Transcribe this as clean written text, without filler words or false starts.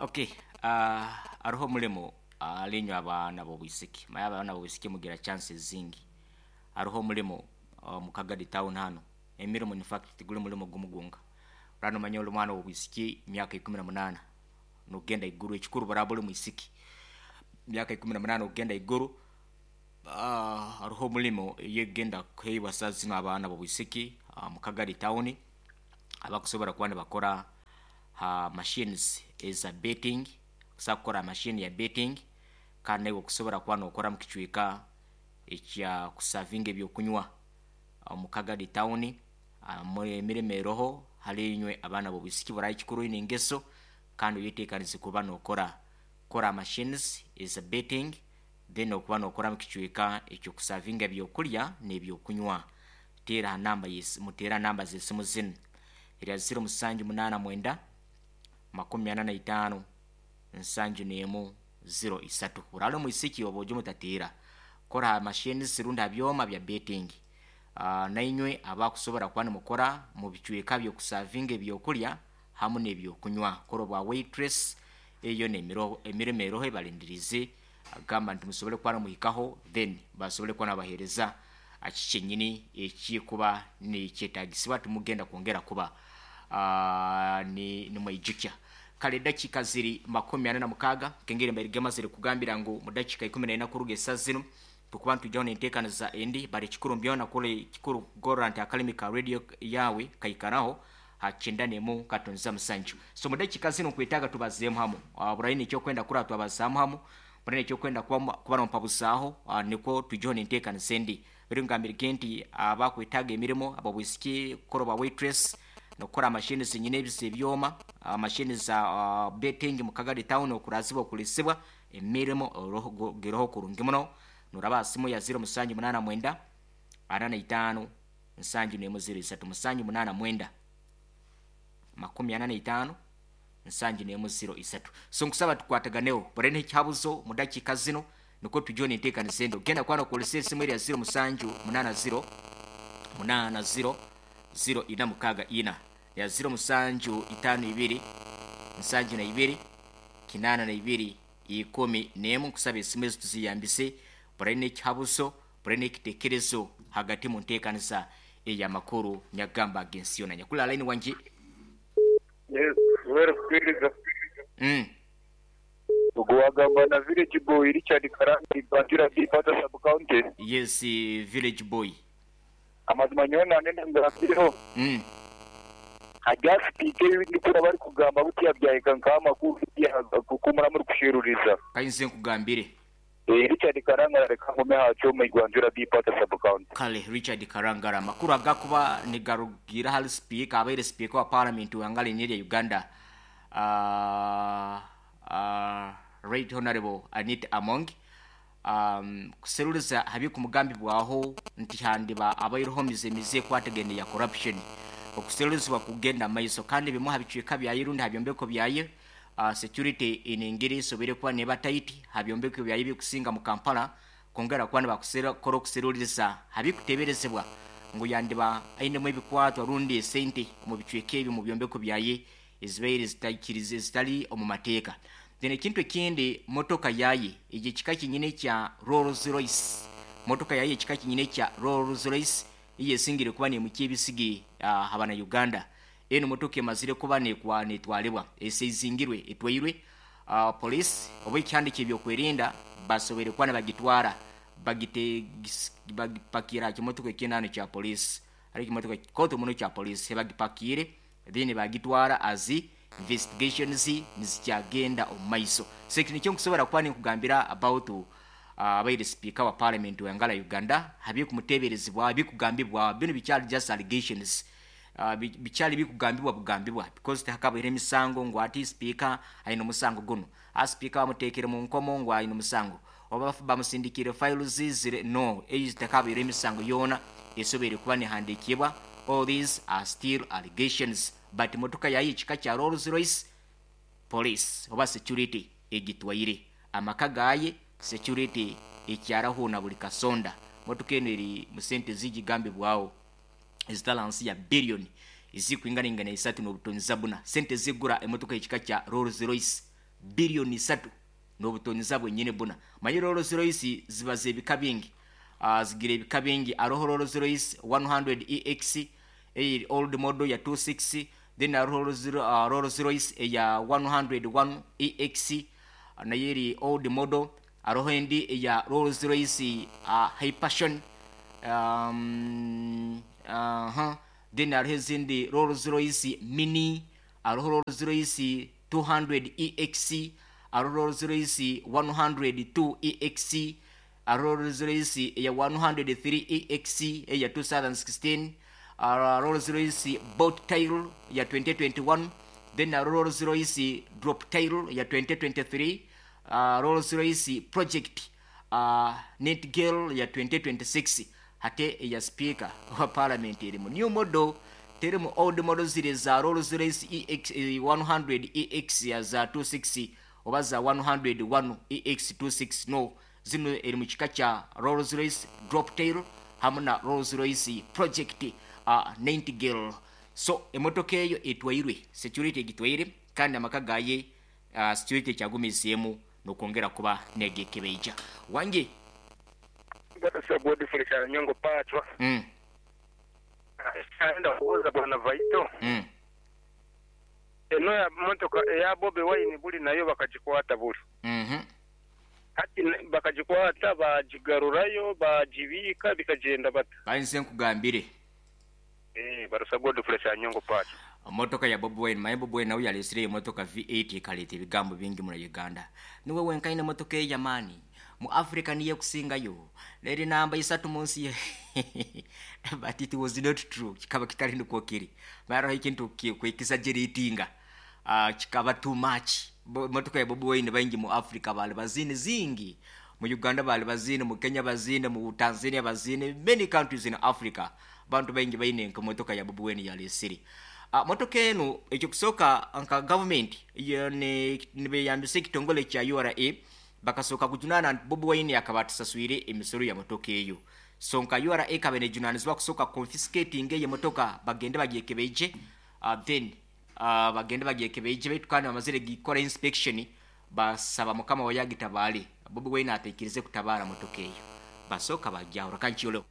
Okay, aroho omulimo alinywe abaana b'obwisiki. Manya abaana b'obwisiki mugira chances zingi. Aroho omulimo mu Kagadi town hanu. Emirimo in fact tiguli mulimo gumu gwonka. Oraba nomanya oli mwana w'obwisiki myaka 18 nokugenda haiguru, ekikuru buraba oli mwisiki myaka 18 okugenda haiguru, haroho omulimo eyekugenda kuheebwa saaha zinu abaana b'obwisiki mu Kagadi town abakusobora kuba nibakora ha machines eza betting, osobola kukora ha machine ya betting kandi naiwe okusobora kuba nokora omu kicweka ekya kusavinga ebyokunywa omu Kagadi town. Emirimo eroho hali inywe abaana b'obwisiki buraba ekikuru oine engeso kandi oyetekanize kuba nokora kora ha machines eza betting then okuba nokora omu kicweka eky'okusavinga ebyokulya n'ebyokunywa. Teera ha namba y'esimu, muteere ha namba z'esimu zinu, erya 0789 45 71 03. Oraale omwisiki oba oje omutateera, kora ha machines rundi ha byoma bya betting. Nainywe abakusobora kuba nimukora mu bicweka by'okusavinga ebyokulya hamu n'ebyokunywa, kora obwa waitress, eyo yona emirimo eroho ebalindiriize. Agamba nti musobole kuba nimuhikaho then basobole kuba nibabahereza kiki kyenyini ekikuba nikyetagisibwa, timugenda kwongera kuba nimweijukya. Kale edakiika ziri 46 nkengeri mbaire gemazire kugambira ngu mu dakiika 14 kuruga esaaha zinu tukuba nitwijaho nenteekaniza endi, bali ekikuru mubyona kuli kikuru kugorora nti akalimi ka radio yaawe kaikaraho ha 91.7. So mu dakiika zinu nkwetaaga tubazeemu hamu. Buraine ekyokwenda kurora twabazaamu hamu, buraine ekyokwenda kuba nompabuzaaho nikwo twijeho nenteekaniza endi. Baitu ngambirege nti abakwetaaga emirimo, ab'obwisiki, kukora obwa waitress, nokukora ha machine zenyini ebi zebyoma, machine za betting mu Kagadi town okurazibwa okulisibwa, emirimo giroho kurungi muno. Noraba ha simu ya 0789 45 71 03, 789 45 71 03. So nkusaba tukwataganeho buraine ekihabuzo mu dakiika zinu nikwo twijeho nenteekaniza endi. Ogenda kuba nokozesa esimu eri ya 0780 80 0464 ya 0752 72 82 11. Nkusaba esimu ezi tuziyambise buraine ekihabuzo, buraine ekitekerezo hagati mu nteekaniza ey'amakuru nyakugamba ag'ensi yoona. Nyakuli line wangi. Yes, webale kutwiriza. Ogu wagamba na Village Boy Richard Karanga Ibajura B Patta Sub County. Yes, Village Boy. Amazima nyowe nangye ngambireho. Harya sipiika ebi ndikuhurira barikugamba butya byahika nkaha amakuru ku muraba murikusheruriza. Ka nze nkugambire. Richard Karangara reka ngume aha kyoma Igwanjura B Patta Sub County. Kale Richard Karangara, amakuru agakuba nigarugiira ahari sipiika, abaire sipiika wa Paramenti w'eihanga lyenyi erya Uganda, Right Honourable Anita Among, kuseruriza aha birikumugambibwaho nti handiba abaireho emize mize ekwatagaine ya corruption. Okuserurizibwa kugenda omu maiso kandi bimwe aha bicweka byayo rundi aha byombeko byayo, security enengeri esoboire kuba neba tight aha byombeko byayo ebirikusinga mu Kampala kwongera kuba nibakora okuseruririza aha birikuteeberezebwa ngu yandiba ainemu ebikwatwa rundi esente omu bicweka ebi omu byombeko byaye ezibaire zitaikirize ezitali omu mateeka. Then ekintu ekindi motoka yaye egyo ekika kyenyini ekya Rolls Royce, motoka yaye ekika kyenyini ekya Rolls Royce eyesingire kuba nemukya ebisige aha bana Uganda. Enu motoka emazire kuba netwalibwa, eseizingirwe, etwairwe police oba ekihanda ekyebyokwerinda basoboire kuba nibagitwara bagipakira aha kimotoka ekindi hanu ekya police. Hariho ekimotoka kikooto muno ekya police bagipakiire then bagitwara as investigations nizikyagenda omu maiso. So eki nikyo nkusobora kuba ninkugambira about abaire sipiika wa parliament w'eihanga lya Uganda ha birikumuteeberezibwaho, ebirikugambibwaho. Binu bikyali just allegations, bikyali birikugambibwa bugambibwa because tihakabaire emisango ngu hati sipiika aine omusango gunu, sipiika bamuteekire mu nkomo ngu aine omusango oba bamusindikiire files ziri no, eyo tihakabaire emisango yoona esoboire kuba nehandiikibwa. All these are still allegations but motoka yayo ekika kya Rolls Royce police oba security egitwaire. Amaka gaye security ekyaraho na buri kasonda. Motoka enu eri mu sente ezigigambibwaho ezitari ahansi ya billion ezikwinganaingana isatu n'obutonyiza buna. Sente ezigura emotoka y'ekika kya Rolls Royce. 3 billion n'obutoniza bwenyine buna. Manye Rolls Royce ziba z'ebika bingi, zigira ebika bingi. Aroho Rolls Royce 100 EX eri old model ya 26, then aroho Rolls Royce eya 101 EX, nayo eri old model. Aroho endi eya Rolls Royce Hyperson, then hariho ezindi Rolls Royce Mini, hariho Rolls Royce 200 EX, hariho Rolls Royce 102 EX, hariho Rolls Royce eya 103 EX eya 2016, Rolls Royce Boat Tail ya 2021, then Rolls Royce Drop Tail ya 2023, Rolls Royce Project Nightingale ya 2026. Hate eya speaker wa parliament eri mu new model, teri mu old model ziri za Rolls Royce EX, 100 EX ya za 26 oba za 101 EX 26. No, zino eri mu kika kya Rolls Royce Drop Tail hamu na Rolls Royce Project Nightingale. So emotoka eyo etwairwe, security egitwaire, kandi amaka gaye security ekyagumizeemu nokwongera kuba negekebeija wange. Barasa Godfrey Kyanyongo Pachwa. Enda kubuuza bwana Vaito. Eno ya motoka eya Bobi Wine buli nayo bakagikwata buli. Hati bakagikwata bagigarurayo bagibiika bikagenda bata? Kanze nkugambire. Barasa Godfrey Kyanyongo Pachwa. Motoka ya Bobi Wine, maye Bobi Wine nawe yalesire emotoka V8 ekaleta ebigambo bingi mu Uganda. Niwe wenkaine emotoka ey'amaani mu Africa, niyo ekusingayo, eri namba isatu mu nsi ye, but it was not true. Kikaba kitali nikwo kiri. Baraho ekintu kwekisageratinga, kikaba too much. Motoka ya Bobi Wine baingi mu Africa bali bazine zingi, mu Uganda bali bazine, mu Kenya bazine, mu Tanzania bazine, many countries in Africa bantu baingi baine nka motoka ya Bobi Wine yalesire. Motoka eno, ekyokusooka nka government nibeyambisa ekitongole kya URA, bakasooka kujunaana nti Bobi Wine akaba atasaswire emisoro ya motoka eyo. So nka URA ekaba nejunanizibwa kusooka confiscating eyo motoka, bagende bagyekebeije, then bagende bagyekebeije, baitu kandi bamazire gikora inspection, basaba mukama wayagitabaale. Bobi Wine ateikirize kutabaara motoka eyo, basooka bagyahura kankiyoleho.